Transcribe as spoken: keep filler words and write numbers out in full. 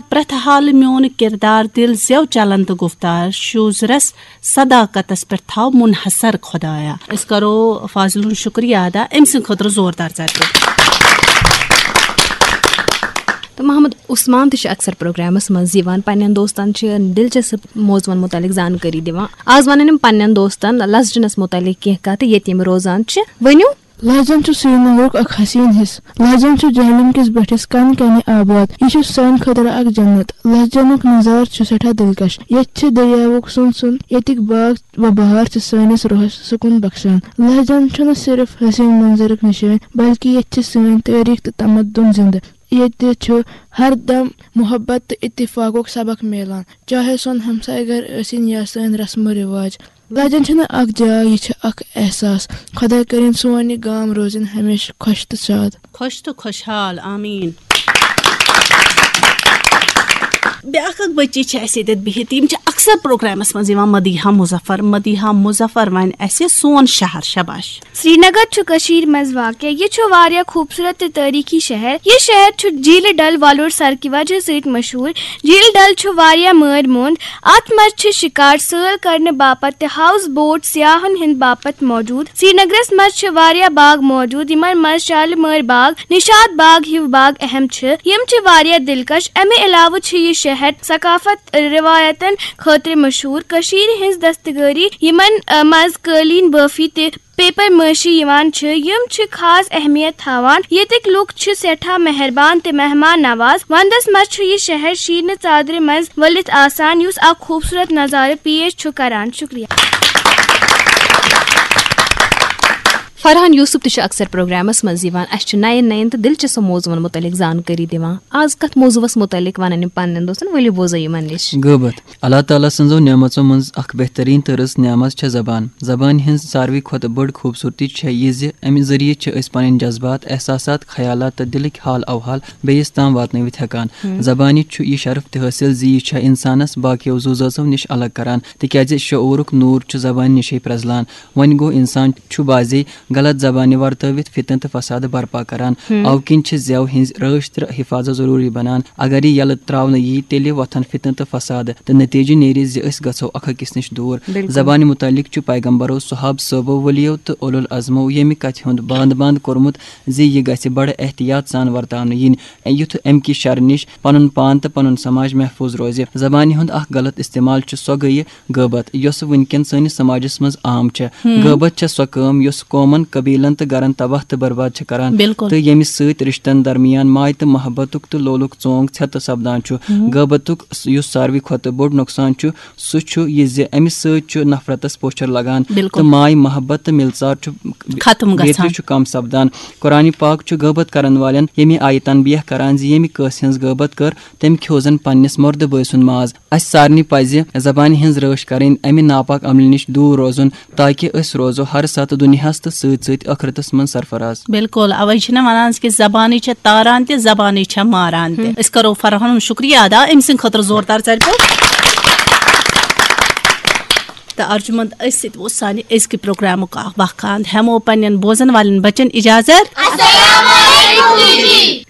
پرٛٮ۪تھ حالہٕ میون کردار، دِل زٮ۪و چلن تہٕ گفتار، شوٗزرس صداقتس پٮ۪ٹھ تھاو منحصر خۄدایا۔ أسۍ کرو فاضل ہُنٛد شُکریہ ادا أمۍ سٕنٛدِ خٲطرٕ زوردار ژَرِ۔ تہٕ محمد عثمان تہِ چھُ اکثر پروگرامس منٛز یِوان، پننٮ۪ن دوستن چھِ دلچسپ موضوعن متعلق زانکٲری دِوان۔ آز ونن یِم پننٮ۪ن دوستن لسجنس متعلق کینٛہہ کتھٕ ییٚتہِ یِم روزان چھِ۔ ؤنِو۔ لہجن چھُ سرینگرُک اکھ حسیٖن حصہٕ۔ لہجن چھُ جہلم کِس بٔٹھِس کن کنہِ آباد۔ یہِ چھُ سانہِ خٲطرٕ اکھ جنت۔ لہجنُک نظارٕ چھُ سٮ۪ٹھاہ دلکش۔ ییٚتہِ چھِ دٔریاوُک سُن سُن، ییٚتِکۍ باغ و بہار چھِ سٲنِس روحس سکوٗن بخشان۔ لہجن چھُنہٕ صرف حسیٖن منظرُک نشٲنۍ، بلکہِ ییٚتہِ چھِ سٲنۍ تٲریٖخ تہٕ تمدُن زندٕ۔ ییٚتہِ چھُ ہر دم محبت تہٕ اتفاقُک سبق میلان، چاہے سون ہمسایہِ گرٕ ٲسِن یا سٲنۍ رسم و رواج۔ لہجن چھنہٕ اکھ جاے، یہِ چھِ اکھ احساس۔ خۄداے کٔرِن سون یہِ گام روزِن ہمیشہٕ خۄش تہٕ شاد۔ خۄش تہٕ خۄشحال، آمیٖن۔ بیٛاکھ اکھ بٔچی چھِ اَسہِ ییٚتٮ۪تھ بِہِتھ، یِم چھِ اکثر پروگرامس منٛز یِوان، مدیحہ مظفر۔ مدیحہ مظفر وَنہِ اَسہِ سون شہر۔ شاباش۔ سرینگر چھُ کٔشیٖرِ منٛز واقع۔ یہِ چھُ واریاہ خوٗبصوٗرت تہٕ تٲریٖخی شہر۔ یہِ شہر چھُ جھیٖلہِ ڈل وۄلُر سرکہِ وجہ سۭتۍ مشہوٗر۔ جھیٖلہِ ڈل چھُ واریاہ مٲرۍ موٚنٛد۔ اَتھ منٛز چھِ شِکار سٲل کرنہٕ باپتھ تہِ ہاوُس بوٹ سیاحن ہٕنٛدِ باپتھ موجود۔ سرینگرس منٛز چھِ واریاہ باغ موجود، یِمن منٛز شالمٲرۍ باغ، نشاط باغ ہِوۍ باغ اہم چھِ۔ یِم چھِ واریاہ دلکش۔ امہِ علاوٕ چھُ یہِ شہر ثقافت رِوایتن خٲطرٕ مشہوٗر۔ کٔشیٖرِ ہٕنٛز دستکٲری، یِمن، ا، منٛز قٲلیٖن بٲفی تہٕ پیپر مٲشی یِوان چھِ، یِم چھِ خاص اہمیت تھاوان۔ ییٚتِکۍ لوٗکھ چھِ سٮ۪ٹھاہ مہربان تہٕ مہمان نواز۔ ونٛدس منٛز چھُ یہِ شہر شیٖنہٕ ژادرِ منٛز ؤلِتھ آسان، یُس اکھ خوٗبصوٗرت نظارٕ پیش چھُ کران۔ شُکریہ۔ فرحان یوسف تہِ چھُ اکثر پروگرامس منٛز یِوان۔ اَسہِ چھُ نَین نَین تہٕ دلچسپ موضوعن مُتعلق زانکٲری دِوان۔ آز کتھ موضوعس مُتعلق ونن یِم پننٮ۪ن دوستن؟ ؤلِو بوزو یِمن نِش۔ غٲبت۔ اللہ تعالیٰ سٕنٛزو نعمژو منٛز اکھ بہترین تہٕ رٕژ نعمت چھےٚ زبان۔ زبانہِ ہٕنٛز ساروٕے کھۄتہٕ بٔڑ خوٗبصوٗرتی چھےٚ یہِ زِ امہِ ذٔریعہٕ چھِ أسۍ پنٕنۍ جذبات، احساسات، خیالات تہٕ دلٕکۍ حال اوحال بیٚیِس تام واتنٲوِتھ ہٮ۪کان۔ زبانہِ چھُ یہِ شرف تہِ حٲصِل زِ یہِ چھےٚ انسانس باقیو زُو زٲژو نِش الگ کران، تِکیازِ شعوٗرُک نوٗر چھُ زبانہِ نِشے پرٛزلان۔ وۄنۍ گوٚو، انسان چھُ بعضے غلط زبانہِ ورتٲوِتھ فتنہٕ تہٕ فساد برپا کران۔ اوٕ کِنۍ چھِ زٮ۪و ہٕنٛز رٲچھ تہٕ حفاظت ضروٗری بنان۔ اگر یہِ یلہٕ ترٛاونہٕ ییہِ، تیٚلہِ وۄتھن فتنہٕ تہٕ فساد، تہٕ نتیجہٕ نیرِ زِ أسۍ گژھو اکھ أکِس نِش دوٗر۔ زبانہِ مُتعلق چھُ پیغمبرو، صحابہٕ صٲبو، ؤلیو تہٕ اولو العزمو ییٚمہِ کتھِ ہُنٛد باند باند کوٚرمُت زِ یہِ گژھِ بڑٕ احتیاط سان ورتاونہٕ یِنۍ، یُتھ امہِ کہِ شرٕ نِش پنُن پان تہٕ پنُن سماج محفوظ روزِ۔ زبانہِ ہُنٛد اکھ غلط استعمال چھُ سۄ گٔیہِ غٲبت، یۄسہٕ وٕنکٮ۪ن سٲنِس سماجس منٛز عام چھےٚ۔ غٲبت چھےٚ سۄ کٲم یۄس قومن، قبیلن تہٕ گرن تباہ تہٕ برباد چھےٚ کران، بِلکُل۔ تہٕ ییٚمہِ سۭتۍ رشتن درمیان ماے تہٕ محبتُک تہٕ لولُک ژونگ ژھٮ۪تہٕ سپدان چھُ۔ غٲبتُک س-، یُس ساروٕے کھۄتہٕ بوٚڑ نۄقصان چھُ، سُہ چھُ یہِ زِ امہِ سۭتۍ چھُ نفرتس پوچھر لگان، بِلکُل۔ تہٕ ماے محبت تہٕ مِلژار چھُ ختم بیترِ گژھان۔ چھُ کم سپدان۔ قرآن پاک چھُ غٲبت کرن والٮ۪ن ییٚمہِ آیہِ تنبیہ کران زِ ییٚمہِ کٲنٛسہِ ہٕنٛز غٲبت کٔر، تٔمۍ کھیوٚو زن پننِس مردٕ بٲے سُنٛد ماز۔ اسہِ سارنٕے پزِ زبانہِ ہٕنٛز رٲچھ کرٕنۍ، امہِ ناپاک عملہِ نِش دوٗر روزُن، تاکہِ أسۍ روزو ہر ساتہٕ دُنیاہس تہٕ سۭتۍ سۭتۍ ٲخرتس منٛز سرفراز۔ بِلکُل، اوے چھِنہ ونان کہِ زبانٕے چھےٚ تاران تہِ، زبانٕے چھےٚ ماران تہِ۔ أسۍ کرو فرحان ہُنٛد شُکریہ ادا، أمۍ سٕنٛدِ خٲطرٕ زوردار ژَرِ پٲٹھۍ۔ تہٕ ارجُمنٛد، أسۍ سۭتۍ اوس سانہِ أزکہِ پروگرامُک اکھ وقت۔ ہٮ۪مو پننٮ۪ن بوزن والٮ۪ن بچن اجازت۔ السلام علیکم ٹی وی۔